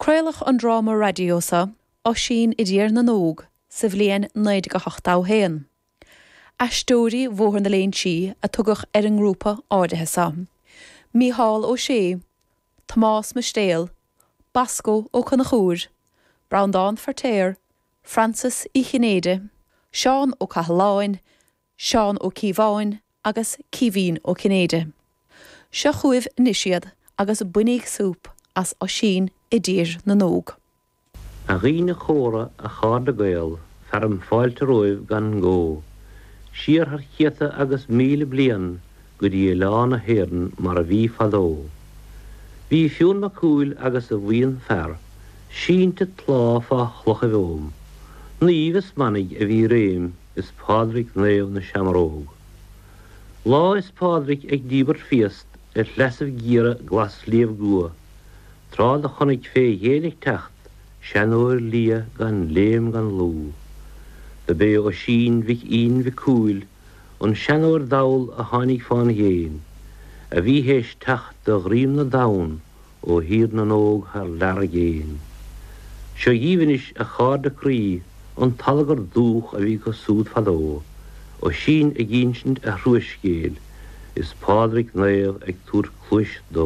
Craoladh an dráma raidió seo, Oisín i dTír na nÓg, sa bhliain 1981. Aisteoirí Bhóthar na Léinsí a tugadh ar an ngrúpa áirithe seo. Mícheál Ó Sé, Tomás Mistéal, Bosco Ó Conchúir, Breandán Feirtéar, Frances Uí Chinnéide, Seán Ó Cathaláin, Seán Ó Cíobháin agus Caoimhín Ó Cinnéide. Seo chugaibh anois iad agus bainíg súp as Oisín i dTír na nÓg. A dhaoine chóra, a chairde Gael, fearaim fáilte romhaibh gan gó, siar thar chéadta agus 1000 bliain go dtí oileán na hÉireann mar a bhí fadó. Bhí Fionn Mac Cumhaill agus a bhuíon fear, sínte tláth fá chlochaibh Ogham. Naoimh is manaigh a bhí i réim is Pádraig Naomh na Seamróg. Lá is Pádraig ag díbirt phiast ar shleasaibh géara Glas-Shliabh gCua, Tráth do chonaic fé ghéin ag teacht, seanóir liath gan léim gan lú. Do b'é Oisín mhic Fhinn mhic Cumhaill, an seanóir dall a tháinig fán ghéin, a bhí théis teacht de dhroim na dtonn ó Thír na nÓg thar lear i gcéin. Seo dhíbh anois, a chairde croí, an t-allagar dúch a bhí acu súd fadó, Oisín ag ínsint a thruascéil, is Pádraig Naomh ag tabhairt cluais dó.